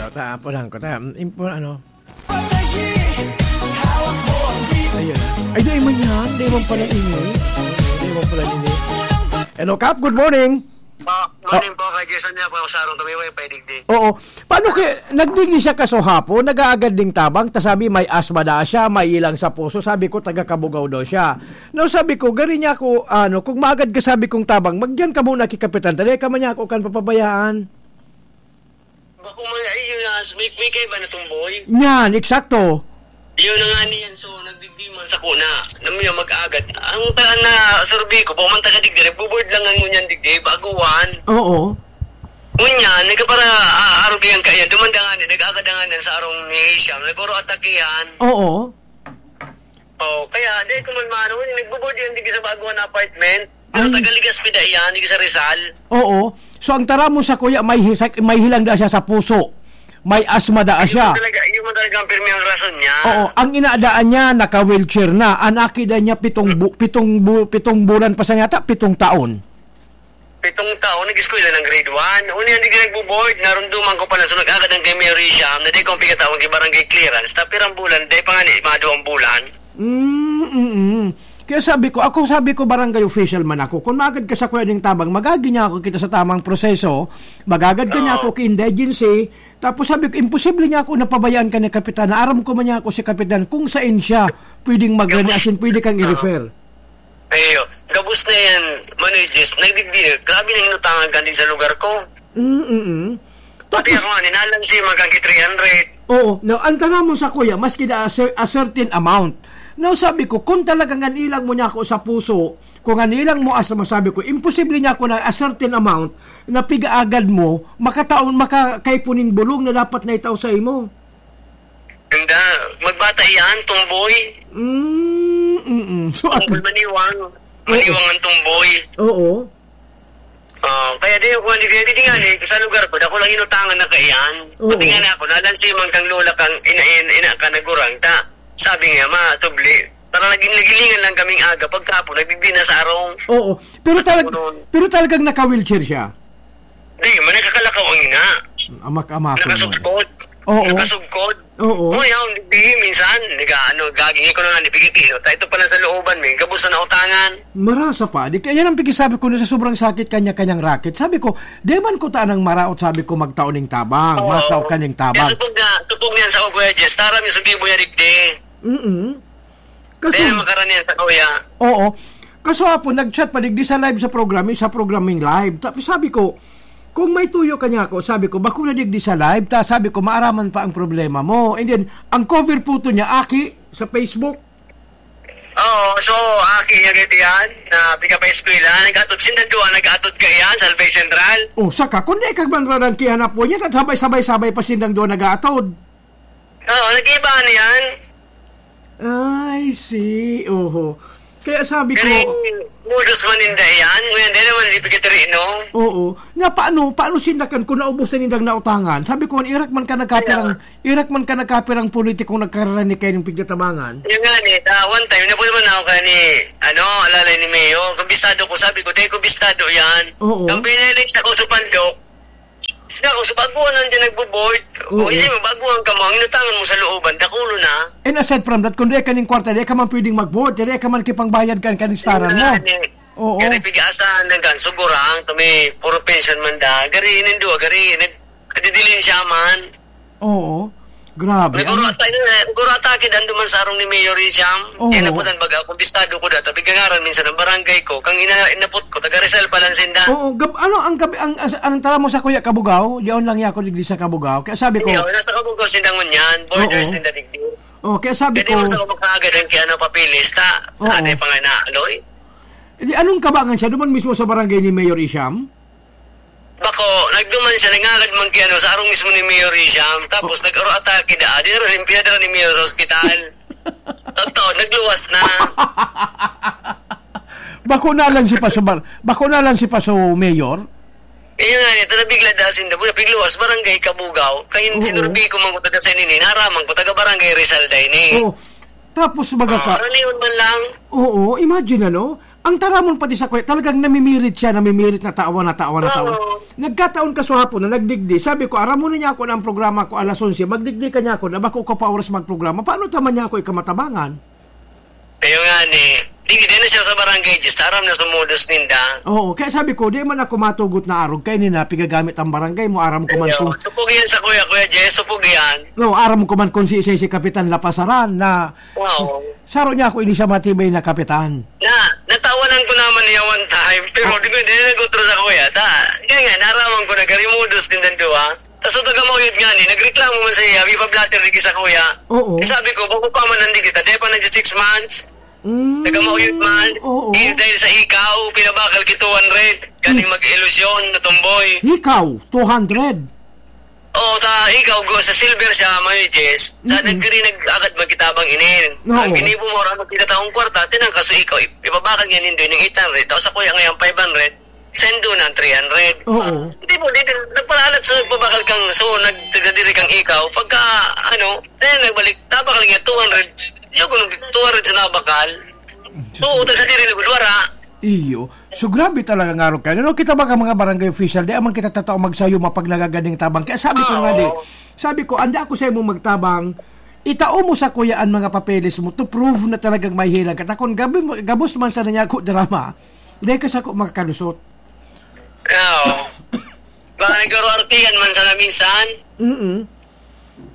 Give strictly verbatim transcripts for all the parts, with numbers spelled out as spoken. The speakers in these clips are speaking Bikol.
Ta, apo lang ko, ta, impo-, ano? Ayun. Ay, di man yan. Di man pala ini. Di man pala ini. Hello, Kap. Good morning. Ah, morning po, kay Jason niya po, sa arong tumiway, pwede di. Oo. Paano kaya, nagdigdi siya kaso hapon, nag-aagad ding tabang, ta sabi may asma na siya, may ilang sa puso, sabi ko, taga Kabugaw daw siya. No, sabi ko, gari niya ako, ano, kung maagad ka sabi kong tabang, magdiyan ka muna kay Kapitan, ta di ka man niya ako kan papabayaan. Bako man, ay, yun na, may, may kaiba na tumboy. Yan, eksakto. Yun na nga niyan, so, nagdigdi man sa kuna, na may mag-agad. Ang ta-, na survey ko, bako man taga digdi, nagbo-board lang ang ngunyan digdi, baguhan. Oo. Ngunyan, nagkapara, ah, arog yan kaya, dumandangan, nag-agadangan yan sa arong ni Asia, nag-oro atakihan. Oo. Oh, kaya, di ko man maano, nagbo-board yan digdi sa baguhan na apartment. Pero Ay. Taga Legazpi da iyan, digdi sa Rizal. Oo. So, ang tara mo sa kuya, may hisak-, may hilang da siya sa puso. May asma da Yun siya. Talaga, yun man talaga ang pirmi ang rason niya. Oo. Ang inadaan niya, naka-wheelchair na. Ang aki da niya, pitong bu-, pitong bu-, pitong bulan pa sa yata, pitong taon. Pitong taon, nag-eskwela ng grade one. Uni ang di ka nagbo-board, narumduman ko pa lang, so nag-agad ang kay Mayor Risham, na di ko ang pigataon kay barangay clearance. Tapirang bulan, di pa nga ni, mga duwang bulan. Mm, mm, mm. Kaya sabi ko, ako sabi ko, barangay official man ako. Kung magad ka sa kuya ning tabang, magagi niya ako kita sa tamang proseso, magagad ka niya Oo. ako ki indigency. Tapos sabi ko, imposible niya ako napabayaan ka ni Kapitan. Na aram ko man niya ako si Kapitan, kung saan siya pwedeng magrani, Tapos, as in, pwede kang Oo. i-refer. Ayo, gabos na yan, managers, nagdigdi. Grabe na inutangan ka din sa lugar ko. Mm, mm, mm. Pati Tapos ako nga, ninalansi, magkagi three hundred. Oo. Now, ang tanong mo sa kuya, maski na a cer-, a certain amount. Now, sabi ko, kung talagang ganilang mo niya ako sa puso, kung ganilang mo, as masabi ko, imposible niya ako na a certain amount na pigaagad mo, makataon, makakaipunin bulong na dapat na itao sa imo. Ganda, magbata iyan, tumboy. Mm, mm, mm. So, at Tumboy maniwang. Oo. Maniwang ang tumboy. Oo. Ah, kaya di ako, hindi, hindi nga, eh, sa lugar ko, dako lang inutangan na kaiyan. Oo. Pati nga na ako, nalansi man kang lola kang ina, ina, ina ka nagurang ta. Sabi nga, ma, subli, para naging nagilingan lang kaming aga, pagkapon, nagbibina sa arong. Oo. Pero talag-, Ano? Pero talagang naka-wheelchair siya? Di, man, nakakalakaw ang ina. Amak-amak. Nakasugkod. Oo. Nakasugkod. Oo. Oh, yaon, di, minsan, nag-aano, gagingin ko na nga, di pigitino. Ta, ito pala sa looban, may gabos na nautangan. Marasa pa. Di, kaya yan ang pigisabi ko na sa sobrang sakit kanya-kanyang racket. Sabi ko, "Di man ko tanang maraot," sabi ko, "magtao ning tabang, Oo. magtao ka ning tabang." Kaya supog na, supog niyan sa Kuya Jess, tara, may sugibo niya, digdi. Mm-mm. Kaso Dahil makaranihan sa kuya. Oo. Kaso hapon, nag-chat pa digdi sa live sa program, sa programming live. Tapos sabi ko, "Kung may tuyo ka niya ako," sabi ko, "bako na digdi sa live, ta," sabi ko, "maaraman pa ang problema mo." And then, ang cover photo niya, aki, sa Facebook. Oo, so, aki niya gito yan, na piga pa eskwela, nag-atod, sindang duwa, nag-atod ka yan, sa Albay Central. Oh, saka, kung di ka man rarangkihan na po niya, sabay-sabay-sabay pa sindang duwa nag-aatod. Oo, nag-iiba na yan. I see. Oho. Kaya sabi ko Galing modus man ninda yan. Ngayon, di naman, di pagkatiri, no? Oo. Nga, paano, paano sinda kan kung naubos na nindang nautangan? Sabi ko, "Irak man ka nagkapirang, Kaya irak man ka nagkapirang politikong nagkararani kayo ng pigtatabangan." Yung nga, ni, ah, one time, napunta man ako kaya ni, ano, alalay ni Mayor. Kung bistado ko, sabi ko, "Dahil ko bistado yan." Oo. Ang pinilit sa ko sa pandok, Sila, kung sa baguhan lang dyan nagbo-board, Oo. o isip mo, baguhan ka mo, ang inutangan mo sa looban, dakulo na. And aside from that, kung di ka ning kwarta, di ka man pwedeng mag-board, di ka man kipangbayad kan kanistaran mo. Yan, eh. Oo. Gari pig-asa, hanggang sugurang, kami, puro pension man da. Gari, nindua, gari, nag-, kadidilin siya man. Oo. Grabe. Naguro Ano? ata, yun, eh, naguro ata, kid ando man sa arong ni Mayor Risiam. Oo. Kaya napunan baga, kung bistado ko data, pigangaran minsan ang barangay ko, kang ina-, inapot ko, taga Rizal pa lang sinda. Oo, gab-, ano, ang gabi, ang, as-, ang tara mo sa Kuya Kabugao, diyon lang ako digdi sa Kabugao. Kaya sabi ko Hindi, oh, nasa Kabugao sinda ngunyan, border Oo. sinda digdi. Oh, kaya sabi Pwede ko mo sa kumakaagad ang kiyano papilis, ta? Oo. Anay pa nga na, Loy? Di, anong kabangan siya? Doon mismo sa barangay ni Mayor Risiam? Bako, nagduman siya, nangagad man kay ano, sa arong mismo ni Mayor Risham, tapos nag-aro atake da, di na rin pinadala ni Mayor sa ospital. Totoo, nagluwas na. Bako na lang si Paso Bar-, bako na lang si Paso Mayor? Eh, yun nga, ito na bigla da, sinda, pigluwas, barangay Kabugaw. Kaya Oo. sinurbi ko man ko taga sa nini, naraman ko, taga barangay Rizal da ini. Oo. Tapos, baga Oh, ka, karaniwan man lang. Oo, imagine, ano? Ang taramon pati sakuya, talagang namimirit siya, namimirit na tawa, na tawa, na tawa. Oo. Nagkataon kasuhapon na nagdigdi. Sabi ko, "Aram mo na niya ako na ang programa ko alas onse, magdigdi ka niya ako na bako ka pa oras magprograma. Paano ta man niya ako ikamatabangan?" Kayo nga ni, di, di na siya sa barangay, just aram na sumudos ninda. Oo, kaya sabi ko, "Di man ako matugot na arog, kaya ni na pigagamit ang barangay mo, aram ko man Ayo, kung" supog yan sa kuya, Kuya Jess, supog yan. No, aram ko man kung si, si, si Kapitan Lapasaran na Wow. Saro niya ako ini siya matibay na kapitan. Na, natawanan ko naman niya one time, pero Oh. di ko, di na nag-utro sa kuya. Ta, kaya nga, naraman ko na garimudos din ng duwa. Tas ang taga Mauyod nga ni, nagreklamo man sa iya, may pa-blotter di sa kuya. Oo. Eh, sabi ko, "Bako pa man nandi kita, di pa nag six months." Mm, Taga Mauyod man, oo. eh, dahil sa ikaw, pinabakal ki two hundred. Galing Hmm. mag-ilusyon na tomboy. Ikaw, two hundred. Oo, ta, ikaw, go, sa silver siya, may Jess. Sa Mm-mm. nagdiri nag-agad magkitabang inin. Oo. Ang ginibo mo, ra magkita taong kwarta, tinangkaso ikaw, ip-, ipabakal niya nindo yung eight hundred, tapos ako yung ngayang five hundred, sendo na ang three hundred. Oo. Hindi mo, di, nagparalat sa nagpabakal kang, so, nagtagadiri kang ikaw, pagka, ano, eh, nagbalik, tabakal niya, two hundred. Yung kung two hundred sa nabakal, Diyos oo, ko. Tagadiri na gud, wara. Iyo. So, grabe talaga nga ron kayo. No, kita ba ka mga barangay official, di aman kita tatao magsayuma pag nagagading tabang. Kaya sabi ko nga, di, Oo. sabi ko, "Anda ako sa imong magtabang, itao mo sa kuya ang mga papeles mo to prove na talagang may hilang ka." Takon, gabi mo, gabos man sana niya ako drama. Dahil ka sa ko makakalusot. Oo. Baka nagkaroon artihan man sana minsan. Mm-mm.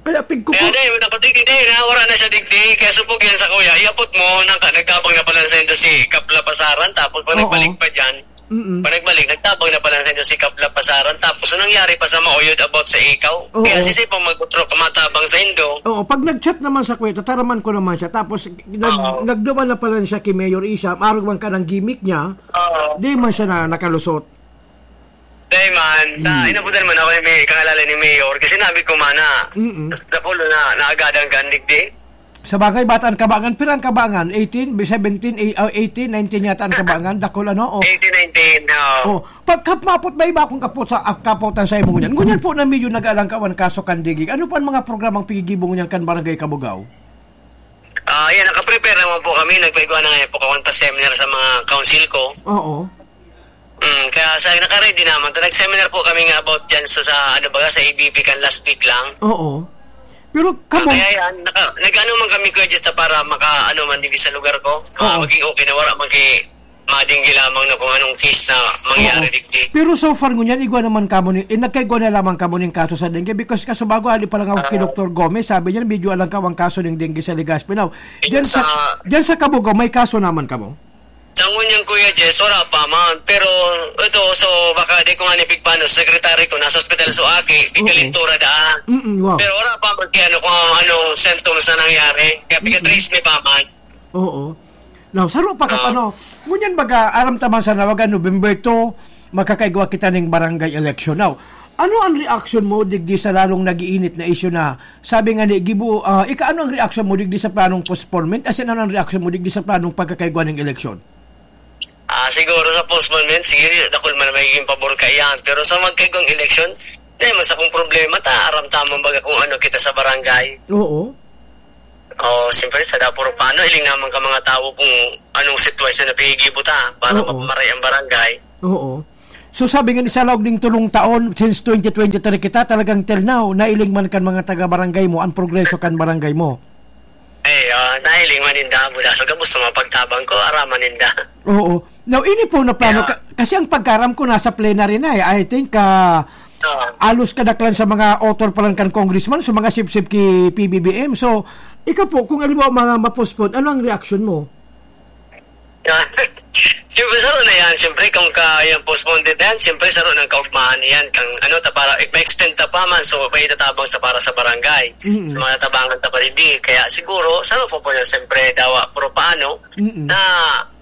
Kaya pigko Kaya ko. di, dapat di, di, na, wala na siya digdi. Kaya supog yan sa kuya. Iabot mo, naka, nagtabang na pala sa inyo si Kapla Pasaran, tapos pag Oo. nagbalik pa dyan, Mm-mm. pag nagbalik, nagtabang na pala sa inyo si Kapla Pasaran, tapos anong nangyari pa sa Mauyod about sa ikaw? Oo. Kaya sisipang mag-utro ka matabang sa indo. Oo, pag nag-chat naman sa kuya, tataraman ko naman siya. Tapos, nag-, Oo. nagduman na pala siya kay Mayor Isam, arog man ka ng gimmick niya, Oo. di man siya na nakalusot. Dai man, ta, Mm. inabutan man ako ni May-, kangalala ni Mayor, kasi sinabi ko man na, Mm-mm. sa Dakulo na naagadan ka, digdi. Sa bagay, bata ang kabangan. Pira ang kabangan? Eighteen, seventeen, eh, ah, eighteen, nineteen yata ang kabangan. Dakul, ano? Oh. Eighteen, nineteen, oo. Oh, pagkapmapot ba iba akong kapot sa, ah, kapotan sa imo ngunyan? Ngunyan po na medyo nag-aalang ka, wan kaso kan digig. Ano pa ang mga programang pigigibo ngunyan kan Barangay Kabugao? Ah, yan, nakaprepare naman po kami. Nagpaigwa na ngayon po kami pa seminar sa mga council ko. Oo. Mm, kaya sa, naka-ready naman to. Nag-seminar po kami nga about dyan sa, sa, ano ba, sa A B P kan last week lang. Oo. Pero Ah, kamo kaya yan, naka, nag-ano man kami, Kuya Jesta, para maka, ano man, digdi sa lugar ko. Ma-, Oo. maging okay na wala man kay madinggi lamang na kung anong case na mangyari Oo. digdi. Pero so far ngunyan, igwa naman kamo ni, eh, nagkaigwa na lamang kamo ning kaso sa dengue because kaso bago ali pa lang ako kay Ah. Doktor Gomez, sabi niya, medyo alang ka ang kaso ng dengue sa Legazpi. Now, Yun dyan sa, sa dyan sa Kabugao, may kaso naman kamo? Sa ngunyan, Kuya Jess, wala pa man. Pero ito, so, baka di ko nga nipigpano, sa secretary ko, nasa ospital so aki, Oo. pigkalintura daan. Mm-mm, wow. Pero wala pa man kaya ano kung anong symptoms na nangyari. Kaya Mm-mm. pigka-trace me pa man. Oo. Now, saro pa ka Ah. tanong. Ngunyan baga, aram ta man sa nawagan, November two, makakaigwa kita ning barangay election. Now, ano ang reaction mo digdi sa lalong nag-iinit na isyu na sabi nga ni Gibo, ah, ika, ano ang reaction mo digdi sa planong postponement? As in, ano ang reaction mo digdi sa planong pagkakaigwa ning election? Ah, siguro sa postponement, sige, dakul man na magiging pabor ka iyan. Pero sa magkaigwang election, di man sa kung problema ta, aram ta man baga kung ano kita sa barangay. Oo. Oh, siyempre, sa dapuro paano, iling naman ka mga tawo kung anong sitwasyon na pinigibo ta para Oo. mapamaray ang barangay. Oo. So, sabi nga ni sa laog ning tulong taon, since twenty twenty-three kita, talagang till now, nailing man kan mga taga-barangay mo, ang progreso kan barangay mo. Eh, ah, nailing man ninda, mula sa gabos sa mga pagtabang ko, araman ninda. Oo. Now, ini po na plano, Yeah. ka-, kasi ang pagkaram ko nasa plenary na eh. I think, ah, Oo. alos kadaklan sa mga author pa lang kan congressman, sa mga sipsip ki P B B M. So, ikaw po, kung halimbawa mga ma-postpone, ano ang reaction mo? Siyempre, saro na yan. Siyempre, kung ka, yung postponed na yan, siyempre, saro ng kaugmahan yan. Kang, ano, ta, para, ma-extend ta pa man, so, may itatabang sa para sa barangay. Mm-mm. Sa mga tabangan ta pa, hindi. Kaya siguro, saro po po yan, siyempre, dawa, pero paano, Mm-mm. na,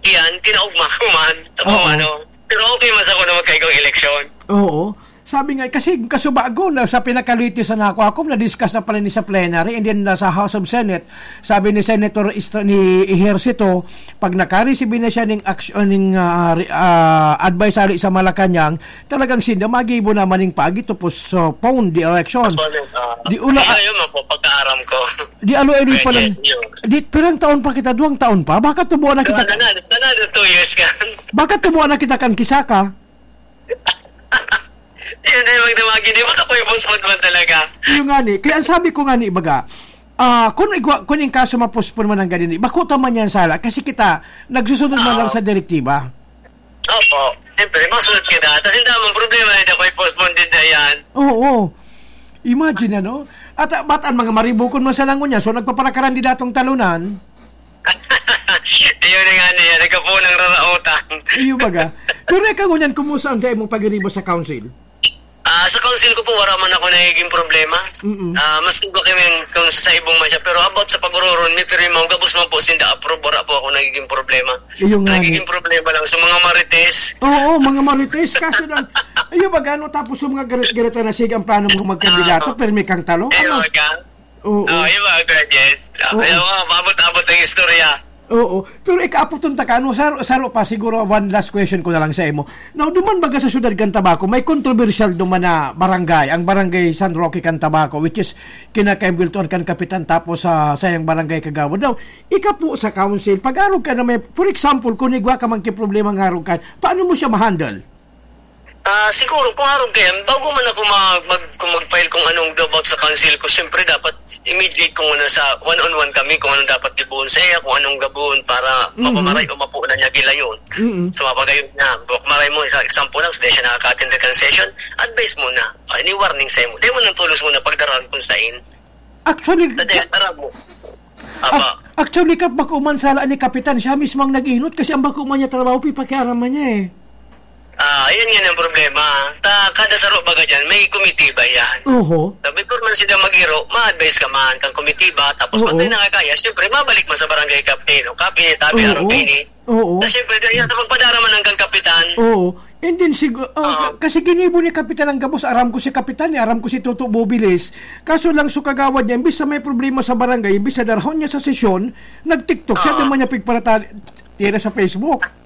yan, kinaugma ko man. Tapos, Oo. ano, pero okay man sa ako na magkaigong eleksyon. Oo. Sabi nga, kasi kasubago na sa pinaka-latest na nakuha ko, na-discuss na pala ni sa plenary, and then nasa House of Senate, sabi ni Senator Istra-, ni Ejercito, pag nakareceive na siya ning action, ning, ah, re-, ah, advice ali sa Malacañang, talagang sinda magibo naman ning paagi to postpone the election. Postpone, ah, Di ula, ayun, ayun man po, pagkaaram ko. Di alo, aloy pa lang. Pwede, yun. Di, pirang taon pa kita, duwang taon pa? Baka tubuan na kita. Wala na, wala na, two years ka. Baka tubuan na kita kan kisaka. Yun na yung magdamagin. Di ba ako yung postpone man talaga? Yung nga ni, kaya ang sabi ko nga ni, baga, ah, kung igwa, kung yung kaso ma-postpone man ang ganini, bako ta man yan sala. Kasi kita, nagsusunod man lang Oo. sa direktiba. Opo. Siyempre, masunod ka na. Tapos hindi naman problema na ako i-postpone din na yan. Oo. Imagine, ano? At, ah, ba't ang mga maribukon man sa langon niya? So, nagpaparakaran di datong talunan? Ayun na nga niya, nagkapunang raraotan. Iyo baga. Pero ikaw ngunyan, kumusta ang sa imong pagiribo sa council? Ah, sa council ko po, wala man ako nagiging problema. Mm-mm. Ah, maski ba kami kung sa, sa ibong man siya, pero about sa pag-ururon, may pirmi mo, gabos man po sinda approve, wala po ako nagiging problema. Iyo nga ni. Nagiging problema lang sa mga marites. Oo, mga marites, kaso lang, iyo baga, ano, tapos sa mga garit-garita na, sige, ang plano mo magkandidato, Ah. pirmi kang talo? Iyo Ano? baga. Oo. Oh, iyo baga, Kuya Jess. Oo. Ayaw nga, paabot-abot ang istorya. Oo. Pero ikaapoton ta ka, ano, saro, saro pa, siguro one last question ko na lang sa imo. Now, duman baga sa syudad kan Tabaco, may kontrobersyal duman na barangay, ang barangay San Roque kan Tabaco, which is kinakaibweltuhan kan kapitan tapos sa sayang barangay kagawad. Now, ika po sa council, pag-arog ka na may, for example, kung igwa ka man ki problema nga arog ka, paano mo siya ma-handle? Ah, siguro, kung arog kayan, bago man ako mag-, mag-, kung mag-file kung anong about sa council ko, siyempre dapat immediate kung ano sa one-on-one kami, kung anong dapat gibohon sa iya, kung anong gabohon para Mhm. mapamaray o mapunan niya gilayon. Mm-mm. So, mapagayon niya. Buk-, maray mo, sa example lang, sa di siya nakaka-attend ng session, advice muna. Ah, ini warning sa imo. Di mo nang tulos muna pagdaraan kung sain. Actually, Sa di, ka- aram mo. Apa. Ac-, actually, Kap, bako man sala ni Kapitan, siya mismo ang nag-inot kasi ang bako man niya trabaho, pipakiaraman niya eh. Ah, yun yun ang problema. Ta, kada saro baga dyan, may komitiba yan. Oho. Sabi ko man sila mag-iro, ma-advise ka man, kang komitiba, tapos Oo. pag may nakakaya, siyempre, mabalik man sa barangay captain, o kapi, tabi, Oo. araw kaini. Oo. Na siyempre, kaya sa pagpadara man hanggang kapitan. Oo. And then, sigu-, oh, Oo. ka-, kasi ginibo ni Kapitan ang gabos, aram ko si Kapitan, eh, aram ko si Toto Bobiles. Kaso lang, so kagawad niya, imbis na may problema sa barangay, imbis na darahon niya sa sesyon, nag-TikTok siya, Oo. di man niya pigparatali, tira sa Facebook.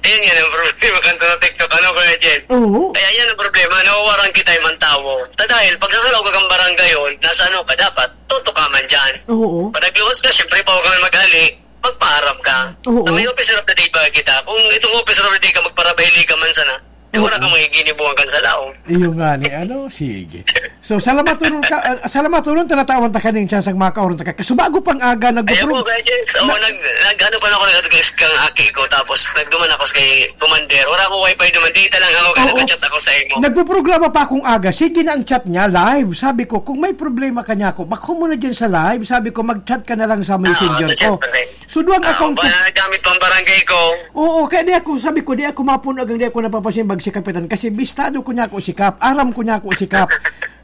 Ayan yan ang problema kan sa TikTok, ano, Kuya Jen? Oo. Kaya yan ang problema, nawawaran kita yung mga tawo. Ta dahil pag nasalaw ka kang barangay yun, nasa ano ka, dapat tuto ka man dyan. Oo. Pag nagluwas ka, siyempre, bawal ka man mag-ali, magpaarap ka. Oo. Sa may officer of the day pa kita. Kung itong officer of the day ka, magparabahili ka man sana, eh, wala Oo. kang magiginibuhan kan sa laom. Iyo nga ni, ano, sige. So, salamat, Turon, ka, ah, salamat, Turon, tinatawan ta kaning tsansang makaoron ta ka. Kasubago pang aga, Ayan nagpupro-, po, Kuya Jens. Oo, na- nag-, nag-, ano pa lang ako, nag-text kang aki ko, tapos nagduman ako kay Commander. Wala akong wifi duman, data lang ako, kaya Oo. nag-chat ako sa imo. Nagpuprograma pa akong aga. Sige na ang chat niya, live. Sabi ko, "Kung may problema ka niya ako, bako mo na dyan sa live." Sabi ko, "Mag-chat ka na lang sa Ah, messenger oo, ko." siyempre. So, duwang Ah, akong ba, nagamit pang barangay ko. Oo, kaya di ako, sabi ko, di ako mapuno hanggang di ako napapasimbag si Kapitan. Kasi bistado ko niya ako si Kap. Aram ko niya ako si Kap.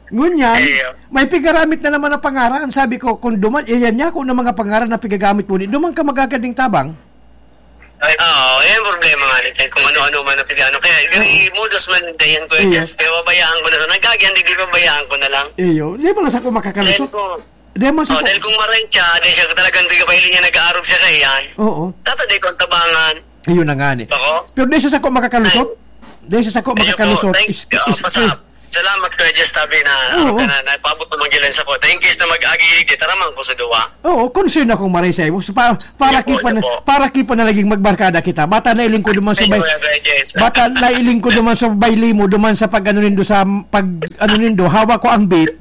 Ngunyan, Iyo. may pigaramit na naman na pangaran. Sabi ko, "Kung duman, iyan niya ako ng mga pangaran na pigagamit mo, di duman ka magagad ning tabang." Ay, oo, yan ang problema nga nito. Kung ano-ano man ang pigano. Kaya, gani, Oo. modus man, dayan ko, Iyo. yes, kaya babayaan ko na. So, nagkagyan, di, di babayaan ko na lang. Iyo. Di ba na sa ko makakalusot? Then, kung Di man sa Oh, ko- dahil kung maray siya, dahil siya talagang di ka pa hiling niya nag-aarog siya kaiyan. Oo. Dapat di kong tabangan. Ayun na nga ni. Bako? Pero di siya sa ko makakalusot? Ay. Di siya sa ko Ayun po, makakalusot? thank Is-, you. is-, Ah, is-, pasap. Salamat, Kuya Jess, tabi na, Oo. ano ka na, napaabot mo manggilan sa ko. Thank you sa mag-agi, di taramang ko sa duwa. Oo, concern akong maray sa imo. So, pa-, para Ayun po, kipan, ayun po. para kipan na laging magbarkada kita. Bata na ilingkod naman sa Ayun, bay-, Kuya Jess. bata na ilingkod naman sa baylimo, duman sa pag-ano nindo sa pag-ano nindo, hawak ko ang bit.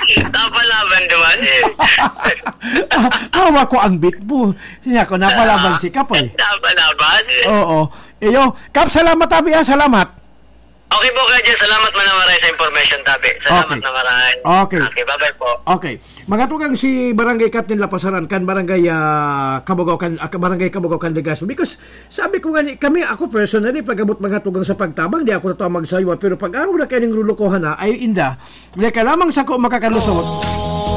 Napalaban naman eh. Ah, hawak ko ang bit mo. Siya ko, napalaban Ah, si Kap eh. napalaban. Oo. Iyo, Kap, salamat, tabi, ah. Salamat. Okay po, Kuya Jess. Salamat man na maray sa information, tabi. Salamat Okay. na maray. Okay. Okay, bye-bye po. Okay. Mga tugang, si Barangay Captain Lapasaran, kan Barangay, ah, Kabugao, kan, ah, Barangay Kabugao, kan Legazpi. Because sabi ko nga ni, kami, ako personally, pag-abot mga tugang sa pagtabang, di ako tatawa magsaywa. Pero pag araw na kayo ng lulukohan na, ay inda. Dahil ka lamang sa ko makakalusot,